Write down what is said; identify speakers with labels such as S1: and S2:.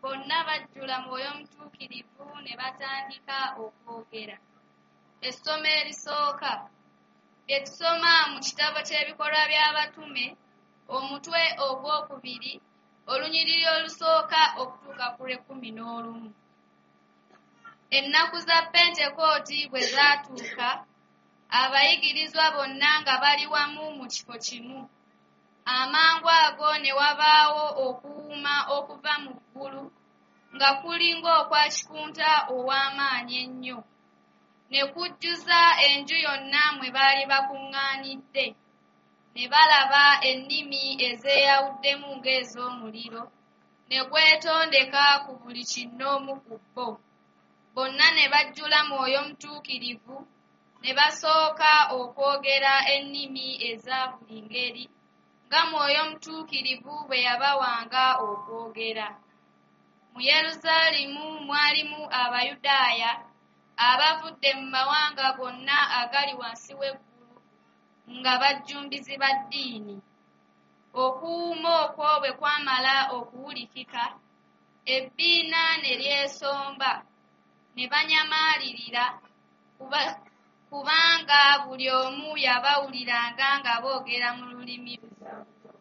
S1: Bonna bajjula Mwoyo Mutuukirivu ne batandika okwogera. Essomo erisooka. Bye tusoma mu kitabo ky'Ebikolwa by'Abatume, omutwe ogwokubiri, olunyiriri olusooka okutuuka ku lw'ekkumin'olumu. Ennaku za Pentekooti bwe zaatuuka, abayigirizwa bonna nga bali wamu mu kifo kimu. Amangu ago ne wabaawo okuwuuma okuva mu ggulu nga kuli ng'okwa kikunta ow'amaanyi ennyo, ne kujjuza enju yonna mwe baali bakuŋŋaanidde. Ne balaba ennimi ezeeyawuddemu ng'ez'omuliro, ne gwetondeka ku buli kinnoomu ku bo. Bonna ne bajjula Mwoyo Mutuukirivu, ne basooka okwogera ennimi eza buli ngeri, nga Mwoyo Mutuukirivu bwe yabawanga okwogera. Mu Yerusaalemu mwalimu Abayudaaya abavudde mu mawanga gonna agali wansi w'eggulu nga bajjumbizi ba ddiini. Okuwuuma okwo bwe kwamala okuwulikika, ebbiina ne lyesomba, ne banyamaalirira, kubanga buli omu yabawuliranga nga boogera mu lulimi lwe.